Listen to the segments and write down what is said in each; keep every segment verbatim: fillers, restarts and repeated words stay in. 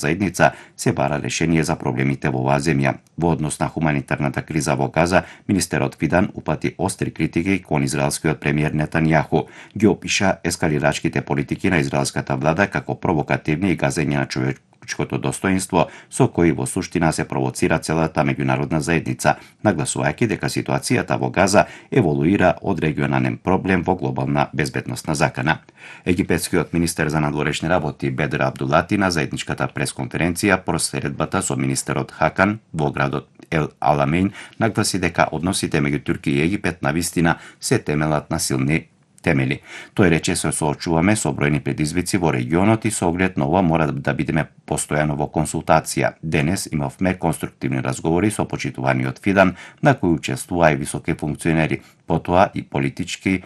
заедница се бара решение за проблемите во оваа земја. Во однос на хуманитарната криза во Газа, министерот Фидан упати остри критики кон израелскиот премиер Нетањаху. Ги опиша ескалирачките политики на израелската влада како провокативни и газење на човечкото достоинство, со кои во суштина се провоцира целата меѓународна заедница, нагласувајќи дека ситуацијата во Газа еволуира од регионален проблем во глобална безбедносна закана. Египетскиот министер за надворешни работи Бедр Абдулати на заедничката пресконференција по средбата со министерот Хакан во градот Ел Аламейн нагласи дека односите меѓу Турција и Египет навистина се темелат на силни темели. Тој рече се соочуваме со бројни предизвици во регионот и со оглед на ова мора да бидеме постојано во консултација. Денес имавме конструктивни разговори со почитуваниот Фидан, на кои учествуваа и високи функционери, потоа и политички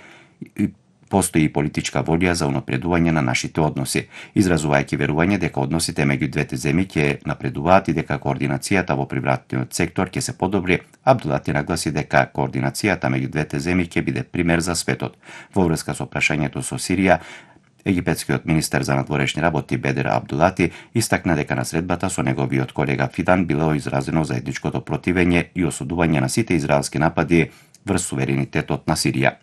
и постои и политичка волја за унапредување на нашите односи, изразувајќи верување дека односите меѓу двете земји ќе напредуваат и дека координацијата во приватниот сектор ќе се подобри. Абдулати нагласи дека координацијата меѓу двете земји ќе биде пример за светот. Во врска со прашањето со Сирија, египетскиот министер за надворешни работи Бедр Абдулати истакна дека на средбата со неговиот колега Фидан било изразено заедничкото противење и осудување на сите израелски напади врз суверенитетот на Сирија.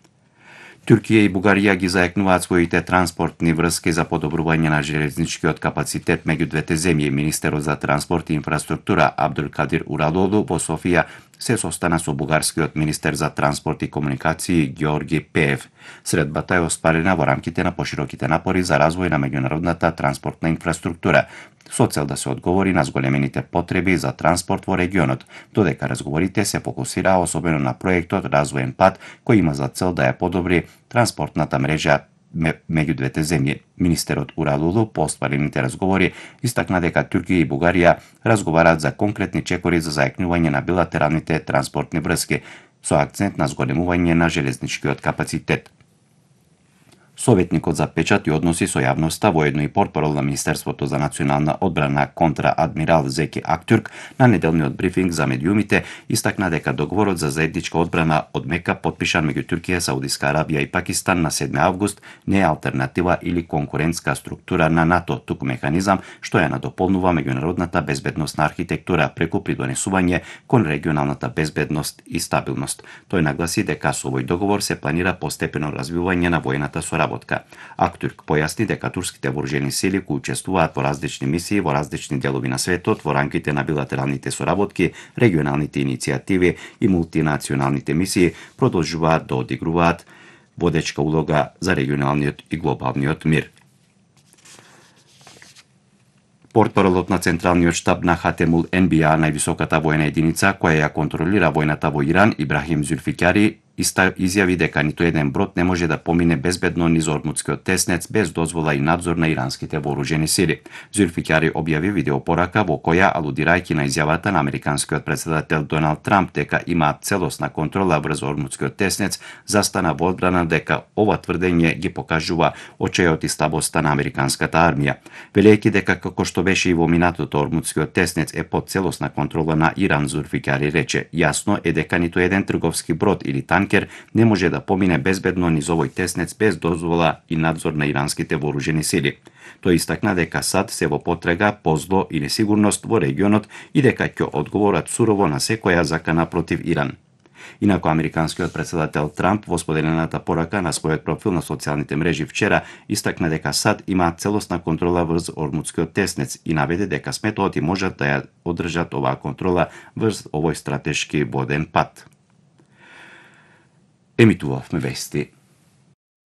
Турција и Бугарија ги заекнуваат своите транспортни врски за подобрување на железничкиот капацитет меѓу двете земји. Министерот за транспорт и инфраструктура Абдулкадир Уралолу во Софија се состана со бугарскиот министер за транспорт и комуникации Георги Пеев. Средбата е оспарена во рамките на пошироките напори за развој на меѓународната транспортна инфраструктура, со цел да се одговори на зголемените потреби за транспорт во регионот, додека разговорите се фокусираа особено на проектот Развоен пат, кој има за цел да ја подобри транспортната мрежа меѓу двете земји. Министерот Уралулу по оспарените разговори истакна дека Турција и Бугарија разговараат за конкретни чекори за заекнување на билатералните транспортни врски, со акцент на зголемување на железничкиот капацитет. Советникот за печат и односи со јавноста, воедно и портпарол на Министерството за национална одбрана контра-адмирал Зеки Актюрк на неделниот брифинг за медиумите истакна дека договорот за заедничка одбрана од Мека подпишан меѓу Турција, Саудиска Арабија и Пакистан на седми август не е алтернатива или конкурентска структура на НАТО, туку механизам што ја надополнува меѓународната безбедносна архитектура преку придонесување кон регионалната безбедност и стабилност. Тој нагласи дека со овој договор се планира постепено развивање на воената соработка. Актюрк појасни дека турските вооружени сили кои учествуваат во различни мисии во различни делови на светот во рамките на билатералните соработки, регионалните иницијативи и мултинационалните мисии продолжуваат да одигруваат водечка улога за регионалниот и глобалниот мир. Портпаролот на Централниот штаб на Хатемул Енбија, највисоката воена единица која ја контролира војната во Иран, Ибрахим Зулфикари, изјави дека ниту еден брод не може да помине безбедно низ Ормутскиот теснец без дозвола и надзор на иранските вооружени сили. Зулфикари објави видеопорака во која, алудирајќи на изјавата на американскиот претседател Доналд Трамп дека има целосна контрола врз Ормутскиот теснец, застана во одбрана дека ова тврдење ги покажува очајот и слабоста на американската армија. Велејќи дека како што беше и во минатото, Ормутскиот теснец е под целосна контрола на Иран, Зулфикари рече: "Јасно е дека ниту еден трговски брод или танкер не може да помине безбедно низ овој теснец без дозвола и надзор на иранските вооружени сили." Тој истакна дека САД се во потрага по зло и несигурност во регионот и дека ќе одговорат сурово на секоја закана против Иран. Инаку американскиот претседател Трамп во споделената порака на својот профил на социјалните мрежи вчера истакна дека САД има целосна контрола врз Ормутскиот теснец и наведе дека сметоти можат да ја одржат оваа контрола врз овој стратешки воден пат. Емитувавме вести